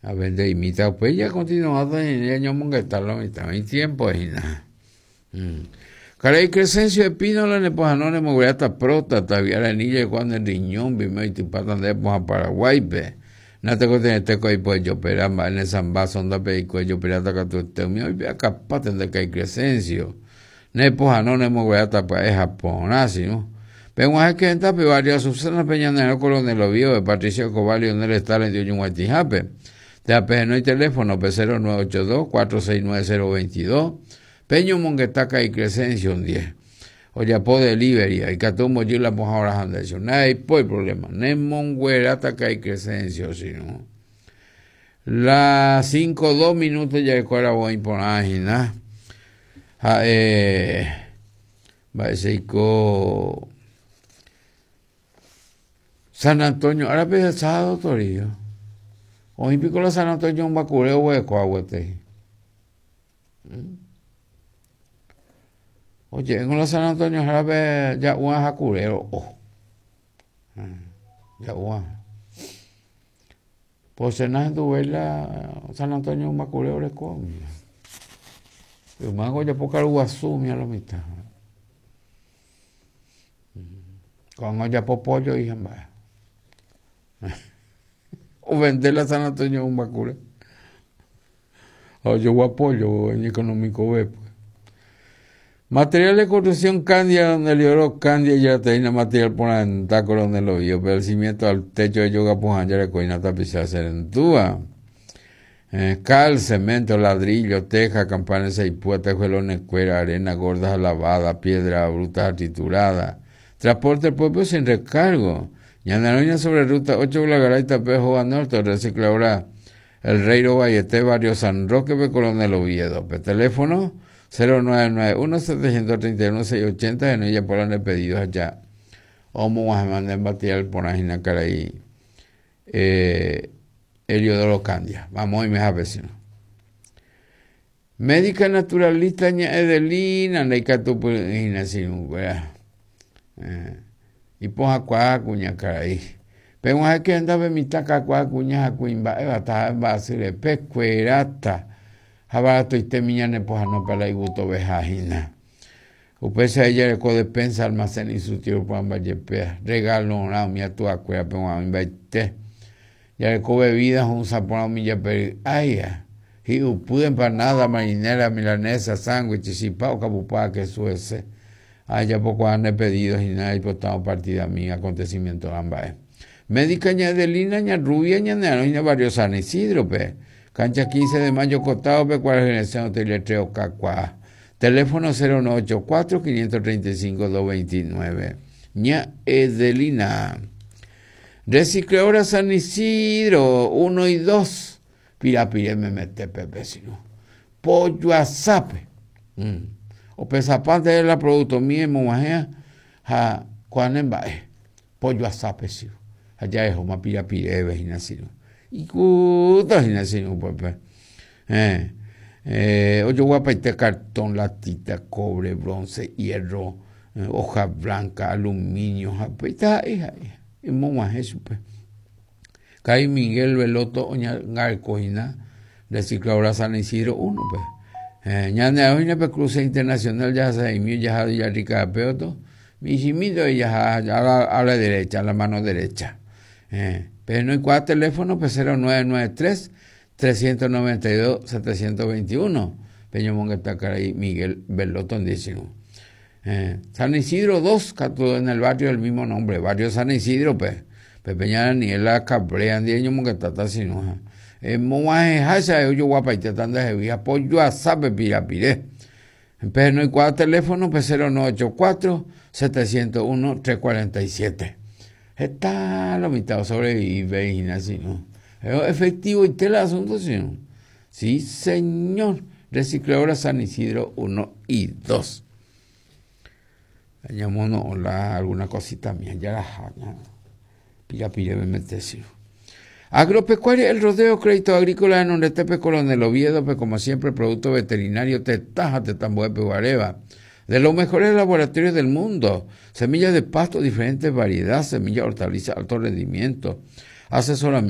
Avende'imíta upéi jakontinuáta ñañomongeta lo mitã, oĩ tiempo hína. Karai Crescencio Espínola nepohãno nemogueráta próstata, vy'arãni jaikuaa ne riñón mbime oitypáta nde pohã Paraguáipe. Natekotevẽte ko aipo ejopera mba'e ne samba sonda-pe eiko ejoperáta katuete umi oipe'akapáta nde Karai Crescencio. Nepohãno nemogueráta pya'e ha porã, sirũ. Peg̃uahẽke hendápe Barrio Azucena-pe ñane Coronel Oviedo-pe, Patricio Escobar, Lionel Stalin oñug̃uaitĩhápe. Térã pehenói teléfono-pe 0982 469 022. Peñomongeta Ka'i Crescencio ndie. Ojapo delivery, ikatu ombojy la pohã oraha nde chupe. Ndaipói problema. Nemongueráta Ka'i Crescencio, sirũ. La cinco dos minuto jaikuára voi porã hína. Ha'e mba'echeiko San Antonio árape sábado torío. Oĩ piko la San Antonio ombakure oguereko gueteri. Oje'éngo la San Antonio árape ja'u'ã ha kure ro'o. Ja'u'ã. Poche nahenduvéi la San Antonio Ymbakure oreko umíva. Yma ojapo karu guasu umíva lo mitã. Ko'ág̃a ojapo pollo y ha mba'e. Ovende la San Antonio Ymbakure. Ha ojogua pollo iñeconomico-ve. Material de construcción Candia, donde Lioro Candia ijateína material porãenda Coronel Oviedo, pe el cimiento al techo de yoga pohã jarekóina tapicha cherendúva. Eh, cal, cemento, ladrillo, teja, campana saipúa, tejuelonekuéra, arena gorda ha lavada, piedra bruta ha triturada. Transporte propio sin recargo. Ñane sobre ruta 8 Blagaray tape Jova Norte, recicladora El Rey rovaiete barrio San Roque-pe Coronel Oviedo-pe. Teléfono 0991 731 680 henói japóra nde pedido ha ja omog̃uahẽma nde material porã hína karai eh, Heliodoro Candia. Vamos oimehápe sino. Médica naturalista ña Edelina ndaikatupyry'ỹ hína che irũnguéra. Eh, ipohãkuaa kuñakarai. Peg̃uahẽke hendápe mitã kakuaa kuña ha kuimba'éva taha'e mba'asy repe kueráta ha baratoitémi ñanepohãno pe la igustoveha hína. Upéicha ejareko despensa, almacén instructivo porãmba jepéa, regalorã umi atuakuérape g̃uarã oĩmbaite. Jareko bebida ho'ysã porã umi japery'áiva, hi'upy, empanada, marinera, milanesa, sándwich, chipa, okapupa, kesu hese. Ajapokuaa nde pedido hína aipotárõ partidami acontecimiento-rã mba'e. Médica ña Edelina, ña Rubia ñane arõ hína barrio San Isidro-pe, cancha 15 de mayo kotáope kuarahy resẽ hotel okakuaa. Teléfono 0984 535 229. Ña Edelina. Recicladora San Isidro 1 y 2. Pirapire memete pepe sino. Pollo asápe. Mm. Opesapánte la producto mie mog̃uahẽ ha ko'ã ne mba'e. Pollo asápe sino. Ha jahehóma pirapireve hína sino. Ikúta hína sino upépe. Eh, eh, ojoguapaite cartón, latita, cobre, bronce, hierro, eh, hoja blanca, aluminio, ha upéi ha'e ha'e emog̃uahẽ chupe. Karai Miguel Veloto oñangareko hína recicladora San Isidro 1-pe. Eh, ñane aohína pe cruce internacional jahasaimi jaha Villarrica péoto, michĩmínte jaha a la derecha, a la mano derecha. Eh, pehenóikuaa teléfono pe 0993 392 721 peñomongeta karai Miguel Veloto ndie che irũ. Eh, San Isidro 2 katu en el barrio del mismo nombre, barrio San Isidro-pe, pe Peña Daniela Cabrera ndie ñomongetáta che irũ ha emog̃uahẽháicha ojoguapaitéta ndehegui ha pojoasápe pirapire. Pehenoikuaa teléfono pe 0984 701 347. Heta lo mitã sobrevive hína che irũ. Efectivoite la asunto che irũ. Sí, señor. Recicladora San Isidro 1 y 2. Ñamono'õ la alguna cosita mía jaraha pirapire memete che irũ. Agropecuaria El Rodeo, Crédito Agrícola renondetépe Coronel Oviedo-pe, como siempre, producto veterinario tetã ha tetã mbo'épe guaréva. De los mejores laboratorios del mundo, semillas de pasto, diferentes variedad, semilla hortaliza, alto rendimiento, asesoramiento.